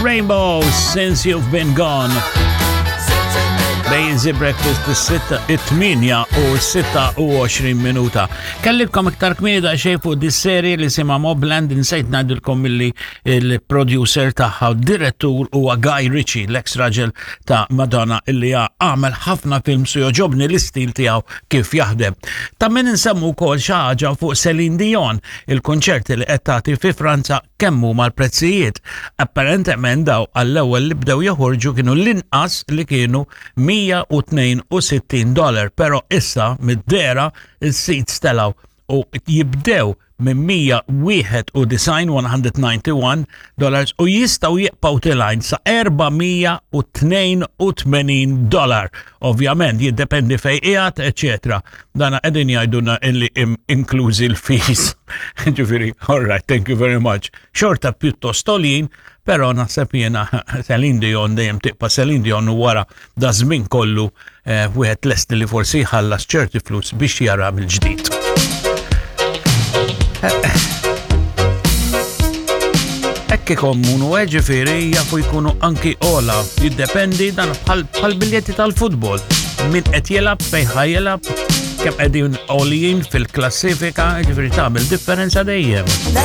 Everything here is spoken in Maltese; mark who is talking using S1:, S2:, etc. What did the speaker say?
S1: Rainbow, Since You've Been Gone. Bejn Easy Breakfast is-6 u 26 minuta. Kellibkom iktar kmieni daqsxejn fuq dis-serie li sima Mobland insejt ngħidilkom milli il-producer tagħha u direttur huwa Guy Ritchie, l-ex raġel ta' Madonna illi għamel ħafna films u joġobni l-istil tiegħu kif jaħdem. Ta' min insemmu wkoll xi ħaġa fuq Celine Dion, il-konċerti li qed tagħti fi Franza kemm huma l-prezzijiet. Apparentement daw għall-ewwel li bdew joħorġu kienu l-inqas li kienu 162 dollar, però issa mid-dera il-seats telgħu u jibdew minn 191 191 dollars u jistaw jibqgħu tilgħin sa 482 dollar. Ovvjament jiddependi fej qiegħed, eċetera. Dana qegħdin jgħidulna illi inklużi l-fees. Ġifieri, all right, thank you very much. Xorta pjuttost għoljin, però naħseb jiena Celine Dion dejjem tibqa' Celine Dion u wara da żmien kollu eh, wieħed lest li forsi jħallas ċerti flus biex jara mill-ġdid. Hekk ikommunu, eh, ġifieri jafu jkunu anki ola, jiddependi dan bħal biljetti tal-futbol. Min qed jilgħab, fejn ħa jilgħab, kemm qegħdin għoljin fil-klassifika, ġifieri tagħmel differenza dejjem.